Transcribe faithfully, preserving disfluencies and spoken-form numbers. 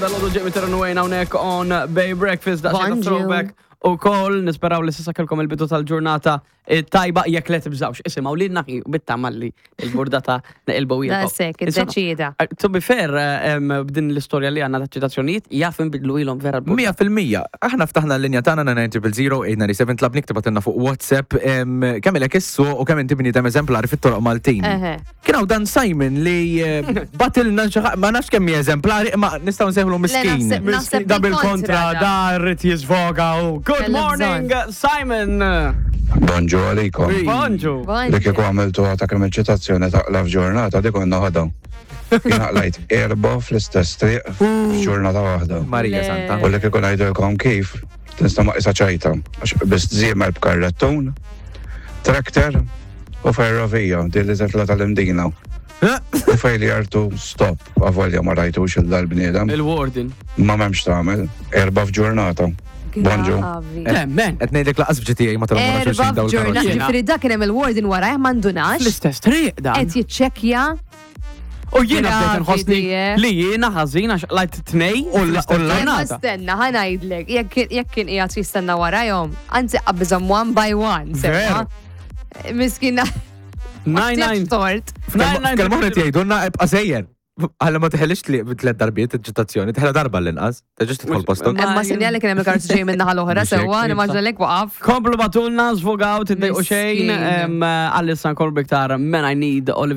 Dal-għodu Jamie Terran Wayne hawnhekk on Bay Breakfast, daqsxejn Bonġu. Throwback u koll, nisperaw li s'issa kellkom il-bidu tal-ġurnata eh, tajba. Jekk le, tibżawx, isimgħu li naħi bit-tama li il-burdata neqilbu. Daqshekk, iddeċida. To be fair, eh, em, b'din l-istorja li għandna ta' ċitazzjonijiet, jaf nbidlu ilhom vera l-burdata. Mija fil-mija. Aħna ftaħna l-linja tagħna nine zero zero, eight nine seven, tlabnik tibgħatilna fuq WhatsApp em, kemm ilek issuq u kemm inti bniedem eżemplari fit-toroq Maltin. Eħe. Kien hawn dan Simon li eh, bagħtilna xi ħa- ma nafx kemm hi eżemplari, ma nistgħu nsejħlu miskin. Naħseb- naħseb Da bil-kontra, bil-kontra, da rrit jisvoga u. Good Kellha morning, Simon! Bonġu għalikom. Bonġu! Li kieku għamiltu għata kemm il-ċitazzjoni taqla f'ġurnata, dik konna ħadha. Jien qlajt erba fl-istess triq f'ġurnata waħda. Marija Le. Santa. U li kieku ngħidilkom kif, tinstama' isa ċajta. Għax biss żiemel b'karrettun, traktor u ferrovija, din li titla tal-Imdina. U failure to stop, avolja ma rajtux il-dal-bniedem. Il-warden. Ma m'hemmx tagħmel, erba f'ġurnata. Bonġu. Gravi. Temmen! Qed ngħidlek lanqas f'G T A ma tilhom wara Erba xulxin dawn f'ġurnata. il-karozzi. Ġifieri dak kien hemm il-warden wara ma ndunax. L-istess triq dan. Qed jiċċekkja. U jiena bdejt Gravi nħossni di, eh. li jiena ħażin għax qlajt tnej U la- u la- Ma ġurnata. stenna, ħa ngħidlek, jekk jekk kien qiegħed jistenna warajhom, anzi qabżhom one by one, sewwa. Miskina. Nine nine. Tort. Kelma oħra jgħidulna ibqa' sejjer. Għalla ma teħelix li tliet darbiet iċ-ċitazzjoni, teħla darba l-inqas. Terġax tidħol postok. Ma- Imma sinjali kien hemm il-karozzi ġej minn naħa l-oħra, Mhux hekk, sewwa, nimmaġina lek waqaf. Komplu ibgħatulna, żvogaw, tiddejqu xejn, Miskin. għalissa nkollu biktar Men I Need Olivier.